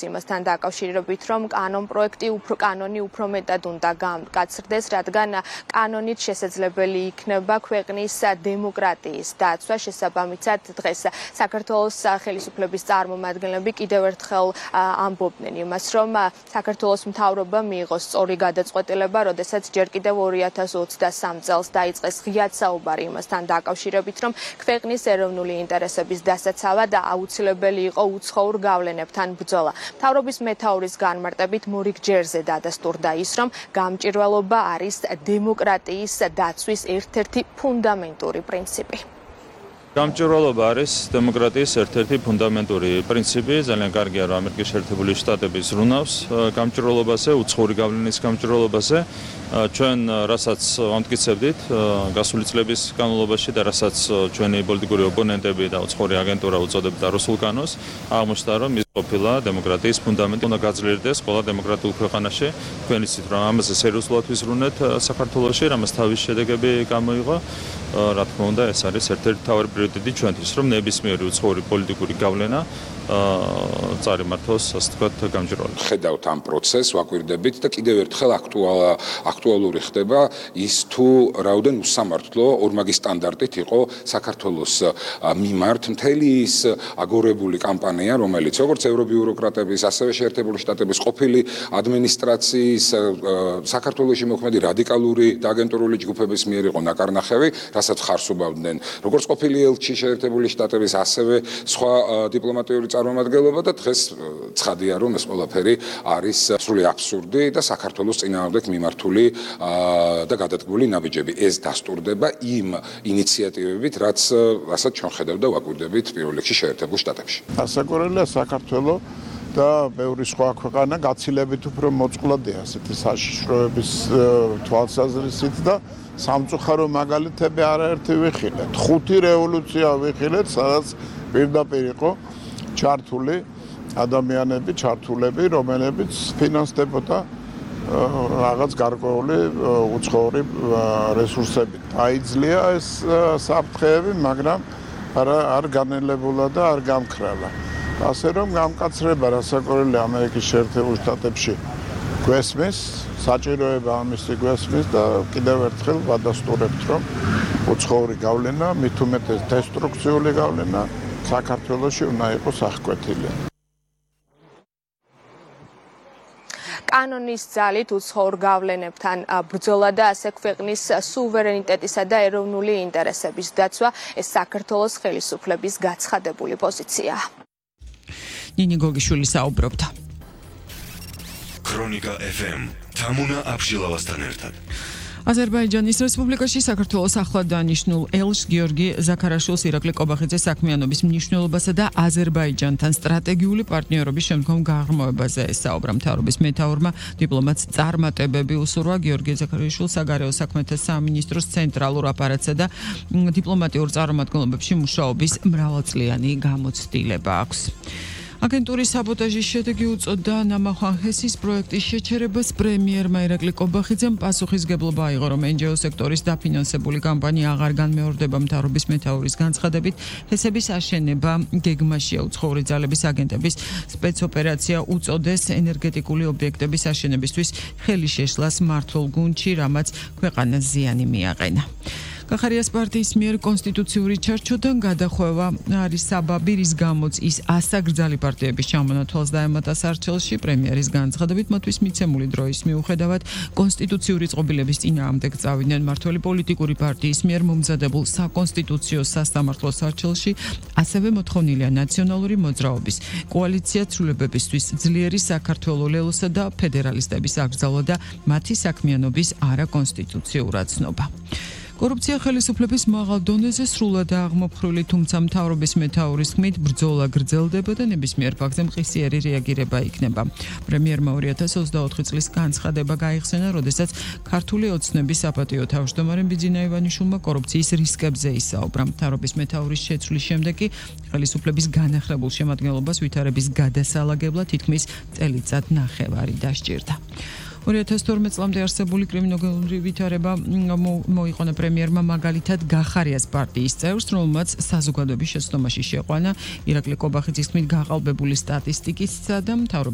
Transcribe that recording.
იმასთან დაკავშირებით, რომ კანონი უფრო მეტად უნდა გაცრდეს, რადგან კანონით შესაძლებელი იქნება ქვეყნის დემოკრატიის დაცვა. შესაბამისად, დღეს საქართველოს ხელისუფლების წარმომადგენლები კიდევ ერთხელ ამბობდნენ იმას, რომ საქართველოს მთავრობა მიიღოს სწორი გადაწყვეტილება, როდესაც ჯერ კიდევ 2023 წელს დაიწყეს ღიად საუბარი იმასთან დაკავშირებით, რომ ქვეყნის ეროვნული ინტერესების დასაცავად აუცილებელი იყო უცხოურ გავლენებთან ბრძოლა. მთავრობის მეთაურის განმარტებით მორიგ ჯერზე დადასტურდა ის, რომ გამჭირვალობა არის დემოკრატიის დაცვის ერთ-ერთი ფუნდამენტური პრინციპი. გამჭირვალობა არის დემოკრატიის ერთ-ერთი ფუნდამენტური პრინციპი. ძალიან კარგია, რომ ამერიკის შეერთებული შტატები ზრუნავს გამჭირვალობაზე, უცხოური გავლენის გამჭირვალობაზე. ჩვენ რასაც ამტკიცებდით გასული წლების განმავლობაში და რასაც ჩვენი პოლიტიკური ოპონენტები და უცხოური აგენტურა უწოდებდა რუსულ კანონს, აღმოჩნდა, რომ ის ყოფილა დემოკრატიის ფუნდამენტი. უნდა გაძლიერდეს ყველა დემოკრატიულ ქვეყანაში. თქვენ იცით, რომ ამაზე სერიოზულად ვიზრუნეთ საქართველოში, რამაც თავის შედეგები გამოიღო. რა თქმა უნდა, ეს არის ერთ-ერთი მთავარი პრიორიტეტი ჩვენთვის, რომ ნებისმიერი უცხოური პოლიტიკური გავლენა წარიმართოს, ასე ვთქვათ, გამჭირვალედ. ხედავთ ამ პროცესს, ვაკვირდებით და კიდევ ერთხელ აქტუალური ხდება ის თუ რაოდენ უსამართლო ორმაგი სტანდარტით იყო საქართველოს მიმართ მთელი ის აგორებული კამპანია, რომელიც როგორც ევრობიუროკრატების, ასევე შეერთებული შტატების ყოფილი ადმინისტრაციის საქართველოში მოქმედი რადიკალური და აგენტურული ჯგუფების მიერ იყო ნაკარნახევი, რასაც ხარს უბავდნენ როგორც ყოფილი ელჩი შეერთებული შტატების, ასევე სხვა დიპლომატიური წარმომადგენლობა და დღეს ცხადია, რომ ეს ყველაფერი არის სრული აბსურდი და საქართველოს წინააღმდეგ მიმართული და გადადგმული ნაბიჯები. ეს დასტურდება იმ ინიციატივებით, რასაც ჩვენ ხედავთ და ვაკვირდებით პირველ რიგში შეერთებულ შტატებში. ასაკურელია საქართველო და ბევრი სხვა ქვეყანა გაცილებით უფრო მოწყვლადია ასეთი საშიშროების თვალსაზრისით და სამწუხარო მაგალითები არაერთი ვიხილეთ. 5 რევოლუცია ვიხილეთ, სადაც პირდაპირ იყო ჩართული ადამიანები, ჩართულები, რომელებიც ფინანსდებოდა რაღაც გარკვეული უცხოური რესურსები. აიძლია ეს საფრთხეები, მაგრამ არ განელებულა და არ გამქრალა. ასე რომ გამკაცრება რასაკვირველია ამერიკის შეერთებულ შტატებში გვესმის, საჭიროება ამისი გვესმის და კიდევ ერთხელ ვადასტურებთ, რომ უცხოური გავლენა, მით უმეტეს დესტრუქციული გავლენა საქართველოში უნდა იყოს აღკვეთილი. კანონის ძალით უცხოურ გავლენებთან ბრძოლა და ასე ქვეყნის სუვერენიტეტისა და ეროვნული ინტერესების დაცვა ეს საქართველოს ხელისუფლების გაცხადებული პოზიციაა. ნინი გოგიშვილი საუბრობდა. ქრონიკა FM თამუნა აბშილავასთან ერთად. აზერბაიჯანის რესპუბლიკაში საქართველოს ახლად დანიშნულ ელშ გიორგი ზაქარაშვილს ირაკლი ყობახიძე საქმიანობის მნიშვნელობასა და აზერბაიჯანთან სტრატეგიული პარტნიორობის შემდგომ გაღრმავებაზე ესაუბრა. მთავრობის მეთაურმა დიპლომატს წარმატებები უსურვა. გიორგი ზაქარაშვილს საგარეო საქმეთა სამინისტროს ცენტრალურ აპარატსა და დიპლომატიურ წარმომადგენლობებში მუშაობის მრავალწლიანი გამოცდილება აქვს. აგენტურის საბოტაჟის შედეგი უწოდა ნამახვანხესის პროექტის შეჩერებას. პრემიერმა ირაკლი ყობახიძემ პასუხისგებლობა აიღო, რომ NGO სექტორის დაფინანსებული კამპანია აღარ განმეორდება. მთავრობის მეთაურის განცხადებით, ჰესების აშენება გეგმაშია. უცხოური ძალების აგენტების სპეცოპერაცია უწოდეს ენერგეტიკული ობიექტების აშენებისთვის ხელი შეშლას მმართველ გუნდში, რამაც ქვეყანას ზიანი მიაყენა. კახარიას პარტიის მიერ კონსტიტუციური ჩარჩოდან გადახვევა არის საბაბი, რის გამოც ის ასაგრძალი პარტიების ჩამონათვალს დაემატა სარჩელში. პრემიერის განცხადებით, მათთვის მიცემული დროის მიუხედავად კონსტიტუციური წყობილების წინააღმდეგ წავიდნენ. მმართველი პოლიტიკური პარტიის მიერ მომზადებულ საკონსტიტუციო სასამართლო სარჩელში ასევე მოთხოვნილია ნაციონალური მოძრაობის კოალიცია ცვლილებებისთვის ძლიერი საქართველოს ლელოსა და ფედერალისტების აკრძალვა და მათი საქმიანობის არაკონსტიტუციურად ცნობა. კორუფცია ხელისუფლების მაღალ დონეზე სრულად აღმოფხრილი, თუმცა მთავრობის მეთაურის თქმით ბრძოლა გრძელდება და ნებისმიერ ფაქტზე მყისიერი რეაგირება იქნება. პრემიერმა 2024 წლის განცხადება გაიხსენა, როდესაც ქართული ოცნების საპატიო თავმჯდომარემ ბიძინა ივანიშვილმა კორუფციის რისკებზე ისაუბრა. მთავრობის მეთაურის შეცვლის შემდეგ კი ხელისუფლების განახლებულ შემადგენლობას ვითარების გადასალაგებლად თითქმის წელიწად ნახევარი დასჭირდა. 2012 წლამდე არსებული კრიმინალური ვითარება მოიყონა პრემიერმა მაგალითად გახარიას პარტიის წევრს, რომელმაც საზოგადოების შეცდომაში შეყვანა. ირაკლი ყობახიძის თქმით, გაყალბებული სტატისტიკისა და მთავრობის